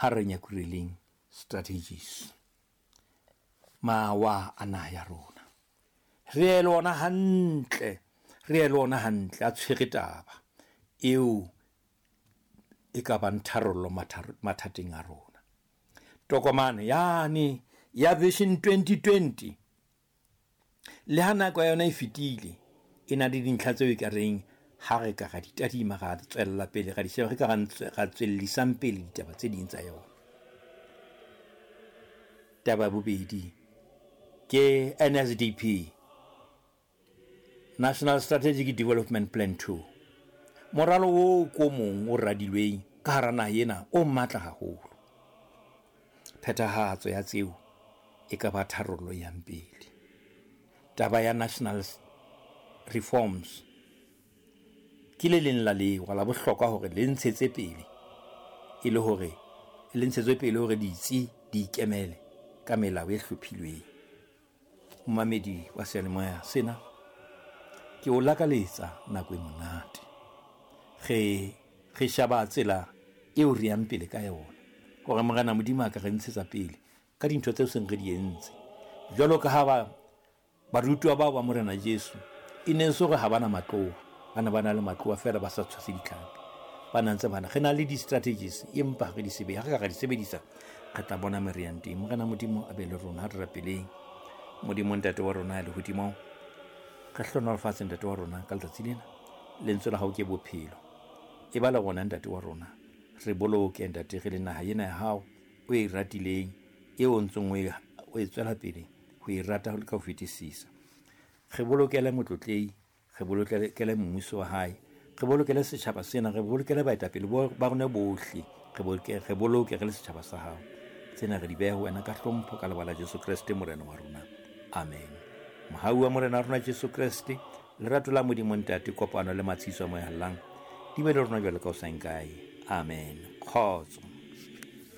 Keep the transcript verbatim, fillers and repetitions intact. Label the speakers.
Speaker 1: Ha re nyakureleng strategies, mawa a naha ya rona. Re ye le ona hantle, re ye le ona hantle a tshwere taba eo e ka bang tharollo mathateng a rona. Tokomane yane ya Vision twenty twenty, le ha nako ya yona e fetile, e na le dintlha tseo e ka reng ha re ka ra di tadima, ra tswella pele, ra di sheba, re ka ra tswellisang pele ditaba tse ding tsa yona. Taba ya bobedi ke N S D P, National Strategic Development Plan two. Moralo oo ko mong o radilweng ka hara naha ena o matla haholo. Phethahatso ya tseo e ka ba tharollo e yang pele. Taba ya National Reforms ke le leng la lewa la bohlokwa hore le ntshetse pele, e le hore le ntshetswe pele hore ditsi di ikemele ka melao e hlophilweng. Momamedi wa seyalemoya sena, ke o lakaletsa nako e monate. Re re shaba tsela eo re yang pele ka yona, hore Morena Modimo a ka re ntshetsa pele ka dintho tseo seng re di entse. Jwalo ka ha ba barutwa bao ba Morena Jesu e ne se hore ha bana matloa, ba ne ba na le matloa feela ba sa tshwase ditlhapi. Ba na ntse bana re na le di-strategies, empa re di sebedisa, ha re ka ra di sebedisa re tla bona mo re yang teng. Morena Modimo a be le rona, ha re rapeleng. Modimo Ntate wa rona ya lehodimong, re hlohonolofatse Ntate wa rona ka letsatsi lena. Lentswe la hao ke bophelo. E ba le rona Ntate wa rona, re boloke Ntate re le naha ena ya hao o e ratileng, eo o ntseng o e, o e tswela pele ho e rata ka ho fetisisa. Re bolokele motlotlei, re bolokele mmuso wa hae, re bolokele setjhaba sena, re bolokele baetapele ba rona bohle, re boloke, re boloke re le setjhaba sa hao. Tsena re di beha ho wena ka hlompho ka lebaka la Jesu Kreste Morena wa rona. Amen. Mohau wa Morena wa rona Jesu Kreste, lerato la Modimo Ntate, kopano le matshiso a Moya Halalelang di be le rona jwalo ka ho sa nkae. Amen. Kgotso.